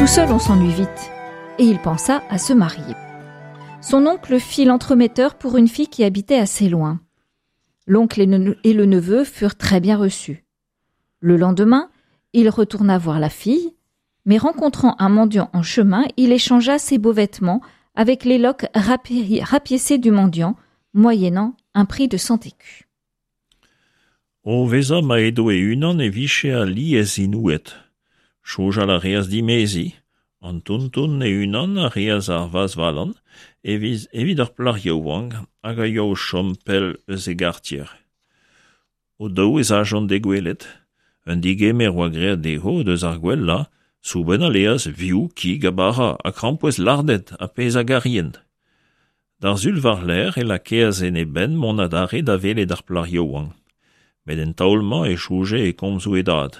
Tout seul on s'ennuie vite. Et il pensa à se marier. Son oncle fit l'entremetteur pour une fille qui habitait assez loin. L'oncle et le neveu furent très bien reçus. Le lendemain, il retourna voir la fille, mais rencontrant un mendiant en chemin, il échangea ses beaux vêtements avec les loques rapiécées du mendiant, moyennant un prix de 100 écus. O vezañ ma edo e-unan e vije alies inouet. Soñjal a reas dimeziñ. An tonton e-unan a reas ar vazhvalan evit ur plac'h yaouank hag a yoa o chom pell eus e gartier. O-daou ez ajont d'he gwelet. Un digemer oa graet dezho deus ar gwellañ, soubenn ha laezh, vioù, kig ha bara, ha krampouezh lardet ha pezh a garient. D'ar Sul war-lerc'h e lakaas en e benn mont adarre da welet ar plac'h yaouank. Met en taol-mañ e soñje e komzoù e dad.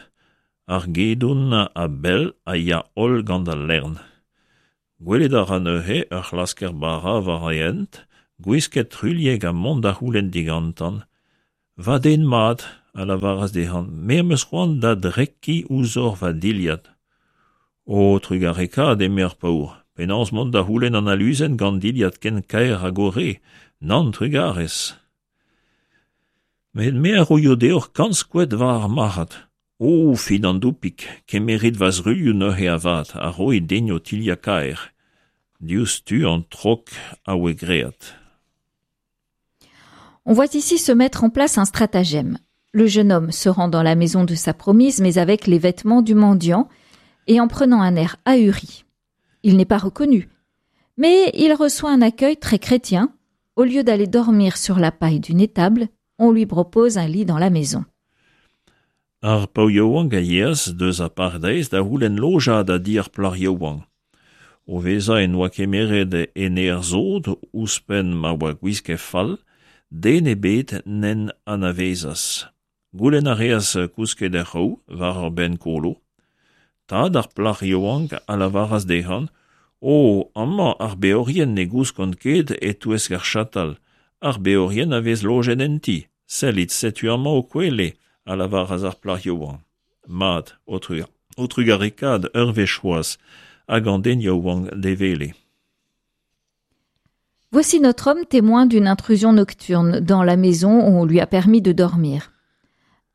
Ar gedon a-bell a ya holl gant al lern. Gwelet a ra neuze ur c'hlasker-bara war e hent, gwisket truilhek ha mont da c'houlenn digantañ Va den mat, a lavaras dezhañ, me am eus c'hoant da drekiñ ouzhoc'h va dilhad. O trugarekaat, eme ar paour, penaos mont da c'houlenn an aluzen gant dilhad ken kaer hag ho re? Nann, trugarez. Met me a roio deoc'h kant skoed war ar marc'had. O, fidandoupig, kemerit va zruilhoù neuze avat ha roit din ho tilhad kaer. Diouzhtu an trok a oa graet. On voit ici se mettre en place un stratagème. Le jeune homme se rend dans la maison de sa promise, mais avec les vêtements du mendiant et en prenant un air ahuri. Il n'est pas reconnu, mais il reçoit un accueil très chrétien. Au lieu d'aller dormir sur la paille d'une étable, on lui propose un lit dans la maison. Ar paotr yaouank a yeas deus ar pardaez da c'houlenn lojañ da di ar plac'h yaouank. O vezañ en doa kemeret en aer sot ouzhpenn ma oa gwisket fall, den ebet n'en anavezas. Goulenn a reas kousket er c'hraou war ur benn kolo. Tad ar plac'h yaouank a lavaras dezhañ O, amañ ar beorien ne gouskont ket e-touesk ar chatal, ar beorien a vez lojet en ti. Sellit, setu amañ ho kwele, a lavaras ar plac'h yaouank. Mat, ho trugarekaat ur wech c'hoazh, hag an den yaouank d'e wele. Voici notre homme témoin d'une intrusion nocturne dans la maison où on lui a permis de dormir.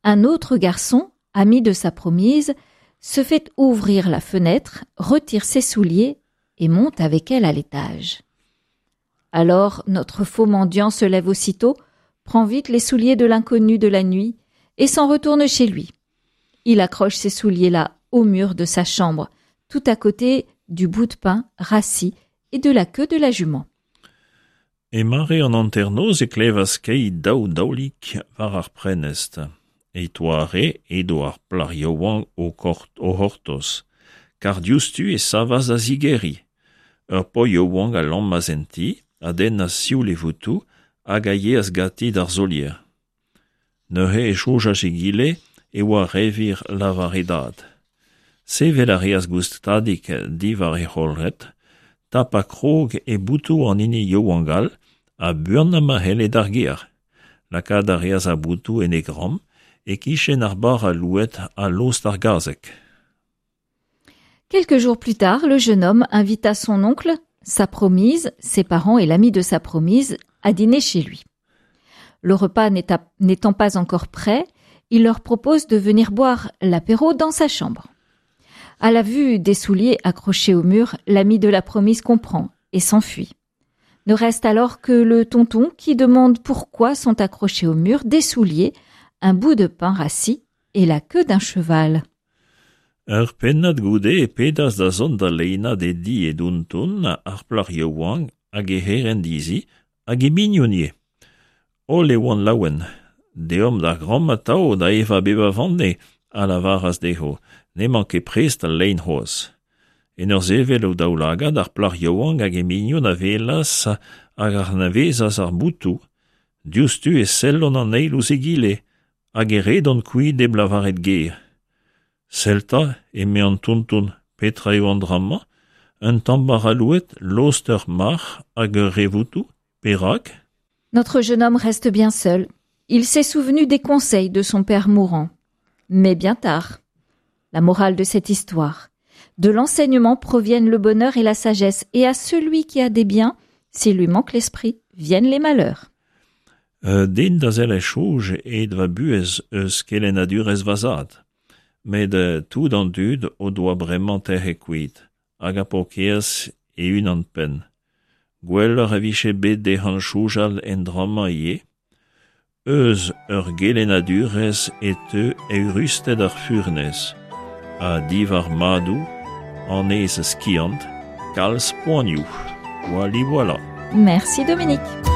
Un autre garçon, ami de sa promise, se fait ouvrir la fenêtre, retire ses souliers et monte avec elle à l'étage. Alors notre faux mendiant se lève aussitôt, prend vite les souliers de l'inconnu de la nuit et s'en retourne chez lui. Il accroche ces souliers-là au mur de sa chambre, tout à côté du bout de pain rassis et de la queue de la jument. E mare an hanternoz e klevas skeiñ daou daolig war ar prenestr. E-toare edo ar plac'h yaouank o c'hortoz, kar diouzhtu e savas da zigeriñ. Ur paotr yaouank a lammas en ti, a dennas sioul e votoù hag a yeas ganti d'ar solier. Neuze e soñjas egile e oa re wir lavar e dad. Sevel a reas goustadik diwar e c'holc'hed, tapañ krog e botoù an hini yaouank all ha buanañ ma c'helle d'ar gêr. Lakaat a reas ar botoù en e gambr, e-kichen ar bara louet ha lost ar gazeg. Quelques jours plus tard, le jeune homme invita son oncle, sa promise, ses parents et l'ami de sa promise à dîner chez lui. Le repas n'étant pas encore prêt, il leur propose de venir boire l'apéro dans sa chambre. À la vue des souliers accrochés au mur, l'ami de la promise comprend et s'enfuit. Ne reste alors que le tonton qui demande pourquoi sont accrochés au mur des souliers, un bout de pain rassis et la queue d'un cheval. Ur pennad goude e pedas da zont da leinañ d'e di e donton ar plac'h yaouank hag he c'herent dezhi hag he mignon ivez. Holl e oant laouen. Deomp d'ar gambr atav da evañ bep a vanne, a lavaras dezho, n'emañ ket prest al lein c'hoazh. En ur sevel o daoulagad, ar plac'h yaouank hag he mignon a welas hag a anavezas ar botoù. Diouzhtu e sellont an eil ouzh egile, hag e redont kuit hep lavaret ger. Sell 'ta, eme an tonton, petra eo an dra-mañ ? Un tamm bara louet, lost ur marc'h hag ur re votoù ? Perak ? Notre jeune homme reste bien seul. Il s'est souvenu des conseils de son père mourant. Mais bien tard. La morale de cette histoire. De l'enseignement proviennent le bonheur et la sagesse, et à celui qui a des biens, s'il lui manque l'esprit, viennent les malheurs. Den da zelc'her soñj hed va buhez eus kelennadurezh va zad. Met tout an dud o doa bremañ tec'het kuit, hag ar paourkaezh e-unan-penn. Gwelloc'h e vije bet dezhañ soñjal en dra-mañ ivez. Eus ur gelennadurezh e teu eürusted ar furnez, ha diwar madoù anez skiant, kalz poanioù. Voilà, voilà. Merci Dominique.